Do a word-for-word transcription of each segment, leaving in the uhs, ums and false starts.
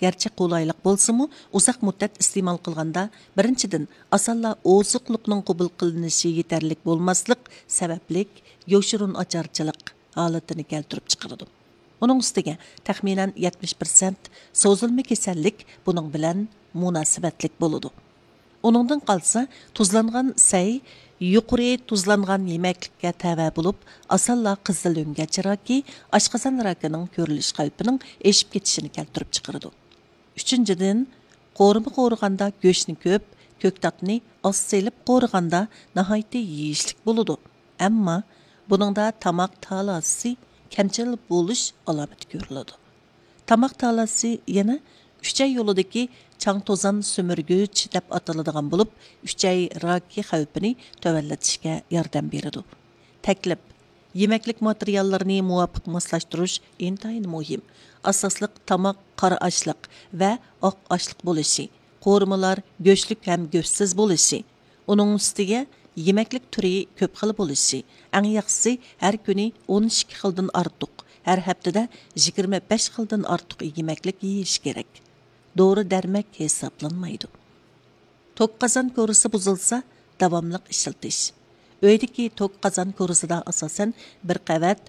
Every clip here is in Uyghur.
گەرچە قولايلىق بولسىمۇ، ئۇزاق مۇددەت ئىستېمال قىلغاندا، بىرىنچىدىن، ئاسانلا ئوزۇقلۇقنىڭ قوبۇل قىلىنىشى يېتەرلىك بولماسلىق سەۋەبلىك، يوشۇرۇن ئاچارچىلىق ھالىتىنى كەلتۈرۈپ چىقىرىدۇ. ئۇنىڭ ئۈستىگە، تەخمىنەن يەتمىش پىرسەنت سوزۇلما كېسەللىك بۇنىڭ بىلەن مۇناسىۋەتلىك بولىدۇ. ئۇنىڭدىن قالسا، تۇزلانغان سەي يۇقىرى تۇزلانغان يېمەكلىككە تەۋە بولۇپ، ئاسانلا قىزىل ئۆڭگەچ راكى، ئاشقازان راكىنىڭ كۆرۈلۈش خەۋپىنىڭ ئېشىپ كېتىشىنى كەلتۈرۈپ چىقىرىدۇ. ئۈچىنچىدىن، قورۇما قورۇغاندا گۆشنى كۆپ، كۆكتاتنى ئاز سېلىپ قورۇغاندا ناھايىتى يېيىشلىك بولىدۇ. ئەمما بۇنىڭدا تاماق تالاسى كەمچىل بولۇش ئالامىتى كۆرۈلىدۇ. تاماق تالاسى يەنە ئۈچەي يولىدىكى چاڭ توزان سۈمۈرگۈچ دەپ ئاتىلىدىغان بولۇپ، ئۈچەي راكى خەۋپىنى تۆۋەنلىتىشكە ياردەم بېرىدۇ. تەكلىپ: يېمەكلىك ماتېرىياللىرىنى مۇۋاپىق ماسلاشتۇرۇش ئىنتايىن مۇھىم. ئاساسلىق تاماق قارا ئاشلىق ۋە ئاق ئاشلىق بولۇشى، قورۇمىلار گۆشلۈك ھەم گۆشسىز بولۇشى، ئۇنىڭ ئۈستىگە يېمەكلىك تۈرى كۆپ خىل بولۇشى، ئەڭ ياخشىسى ھەر كۈنى ئون ئىككى خىلدىن ئارتۇق، ھەر ھەپتىدە يىگىرمە بەش خىلدىن ئارتۇق يېمەكلىك يېيىش كېرەك. دورا دەرمەك ھېسابلانمايدۇ. توك قازان كورىسى بۇزۇلسا، داۋاملىق ئىشلىتىش. ئۆيدىكى توك قازان كورىسىدا ئاساسەن بىر قەۋەت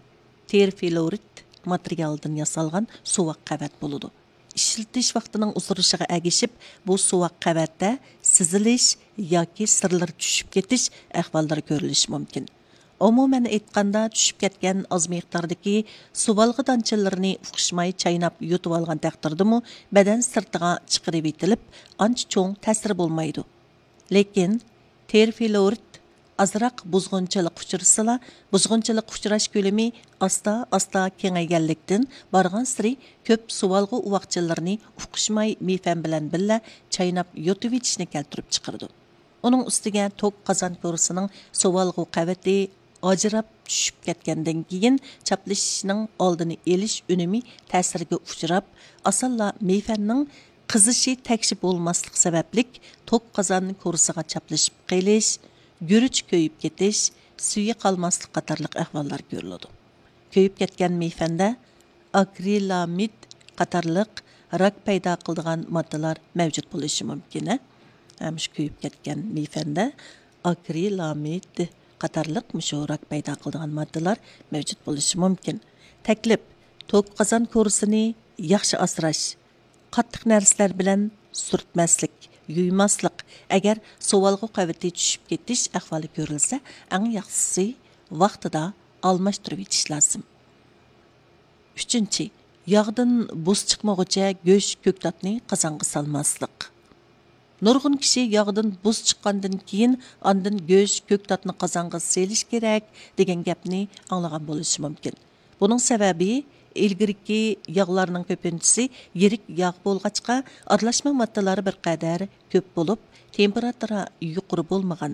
تېرفىلورىت ماتېرىيالىدىن ياسالغان سوۋاق قەۋەت بولىدۇ. ئىشلىتىش ۋاقتىنىڭ ئۇزىرىشىغا ئەگىشىپ، بۇ سوۋاق قەۋەتتە سىزىلىش ياكى سىرلىرى چۈشۈپ كېتىش ئەھۋاللىرى كۆرۈلۈشى مۇمكىن. ئومۇمەن ئېيتقاندا، چۈشۈپ كەتكەن ئاز مىقداردىكى سۇۋالغا دانچىلىرىنى ئۇقۇشماي چايناپ يۇتۇۋالغان تەقدىردىمۇ، بەدەن سىرتىغا چىقىرىۋېتىلىپ، ئانچە چوڭ تەسىرى بولمايدۇ. لېكىن تېرفىلورىت ئازراق بۇزغۇنچىلىققا ئۇچرىسىلا، بۇزغۇنچىلىققا ئۇچراش كۆلىمى ئاستا-ئاستا كېڭەيگەنلىكتىن، بارغانسېرى كۆپ سۇۋالغا ئۇۋاقچىلىرىنى ئۇقۇشماي مېيفەن بىلەن بىللە چايناپ يۇتۇۋېتىشنى كەلتۈرۈپ چىقىرىدۇ. ئۇنىڭ ئۈستىگە توك قازان كورىسىنىڭ سۇۋالغۇ قەۋىتى ئاجراپ چۈشۈپ كەتكەندىن كېيىن، چاپلىشىشنىڭ ئالدىنى ئېلىش ئۈنۈمى تەسىرگە ئۇچراپ، ئاسانلا مېيفەننىڭ قىزىشى تەكشى بولماسلىق سەۋەبلىك، توك قازان كورىسىغا چاپلىشىپ قېلىش، گۈرۈچ كۆيۈپ كېتىش، سۈيى قالماسلىق قاتارلىق ئەھۋاللار كۆرۈلىدۇ. كۆيۈپ كەتكەن مېيفەندە ئاكرىلامىد قاتارلىق راك پەيدا قىلىدىغان ماددىلار مەۋجۇت بولۇشى مۇمكىن. ھە، مۇشۇ كۆيۈپ كەتكەن مېيفەندە ئاكرىلامىد قاتارلىق مۇشۇ راك پەيدا قىلىدىغان ماددىلار مەۋجۇت بولۇشى مۇمكىن. تەكلىپ: توك قازان كورىسىنى ياخشى ئاسراش، قاتتىق نەرسىلەر بىلەن سۈرتمەسلىك، يۇيماسلىق، ئەگەر سۇۋالغۇ قەۋىتى چۈشۈپ كېتىش ئەھۋالى كۆرۈلسە، ئەڭ ياخشىسى ۋاقتىدا ئالماشتۇرۇۋېتىش لازىم. ئۈچىنچى، ياغدىن بۇس چىقمىغۇچە گۆش، كۆكتاتنى قازانغا سالماسلىق. نۇرغۇن كىشى ياغدىن بۇس چىققاندىن كېيىن ئاندىن گۆش، كۆكتاتنى قازانغا سېلىش كېرەك دېگەن گەپنى ئاڭلىغان بولۇشى مۇمكىن. بۇنىڭ سەۋەبى، ئىلگىرىكى ياغلارنىڭ كۆپىنچىسى يىرىك ياغ بولغاچقا، ئارىلاشما ماددىلار بىر قەدەر كۆپ بولۇپ، تېمپېراتۇرا يۇقىرى بولمىغان.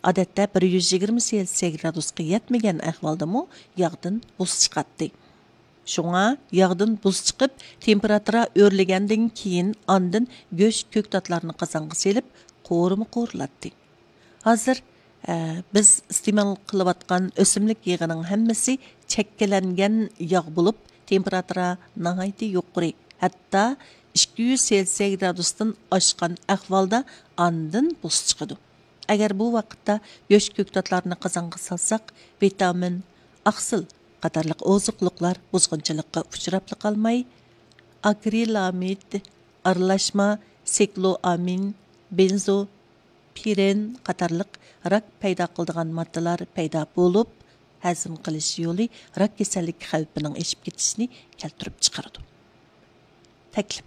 ئادەتتە بىر يۈز يىگىرمە سېلسىيە گرادۇسقا يەتمىگەن ئەھۋالدىمۇ ياغدىن بۇس چىقاتتى. شۇڭا ياغدىن بۇس چىقىپ، تېمپېراتۇرا ئۆرلىگەندىن كېيىن، ئاندىن گۆش، كۆكتاتلارنى قازانغا سېلىپ، قورۇما قورۇلاتتى. ھازىر، ئە، بىز ئىستېمال قىلىۋاتقان ئۆسۈملۈك يېغىنىڭ ھەممىسى چەككىلەنگەن ياغ بولۇپ، تېمپېراتۇرا ناھايىتى يۇقىرى، ھەتتا ئىككى يۈز سېلسىيە گرادۇستىن ئاشقان ئەھۋالدا ئاندىن بۇس چىقىدۇ. ئەگەر بۇ ۋاقىتتا گۆش، كۆكتاتلارنى قازانغا سالساق، ۋىتامىن، ئاقسىل قاتارلىق ئوزۇقلۇقلار بۇزغۇنچىلىققا ئۇچراپلا قالماي، ئاكرىلامىد، ئارىلاشما سىكلوئامىن، بېنزوپىرېن قاتارلىق راك پەيدا قىلىدىغان ماددىلار پەيدا بولۇپ، ھەزىم قىلىش يولى راك كېسەللىكى خەۋپىنىڭ ئېشىپ كېتىشىنى كەلتۈرۈپ چىقىرىدۇ. تەكلىپ: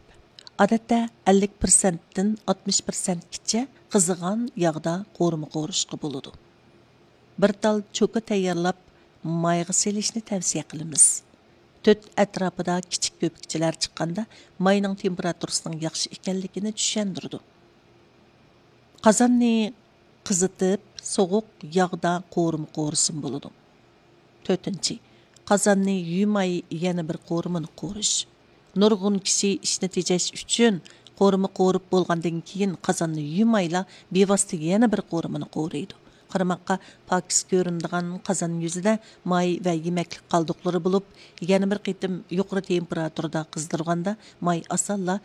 ئادەتتە ئەللىك پىرسەنتتىن ئاتمىش پىرسەنتكىچە قىزىغان ياغدا قورۇما قورۇشقا بولىدۇ. بىر تال چوكا تەييارلاپ، مايغا سېلىشنى تەۋسىيە قىلىمىز. تۆت ئەتراپىدا كىچىك كۆپۈكچىلەر چىققاندا، ماينىڭ تېمپېراتۇرىسىنىڭ ياخشى ئىكەنلىكىنى چۈشەندۈرىدۇ. قازاننى قىزىتىپ، سوغۇق ياغدا قورۇما قورۇسىمۇ بولىدۇ. تۆتىنچى، قازاننى يۇيماي يەنە بىر قورۇمىنى قورۇش. نۇرغۇن كىشى ئىشنى تېجەش ئۈچۈن قورۇما قورۇپ بولغاندىن كېيىن قازاننى يۇيمايلا بىۋاسىتە يەنە بىر قورۇمىنى قورۇيدۇ. قارىماققا پاكىز كۆرۈنىدىغان قازان يۈزىدە ماي ۋە يېمەكلىك قالدۇقلىرى بولۇپ، يەنە بىر قېتىم يۇقىرى تېمپېراتۇرىدا قىزدۇرغاندا ماي ئاسانلا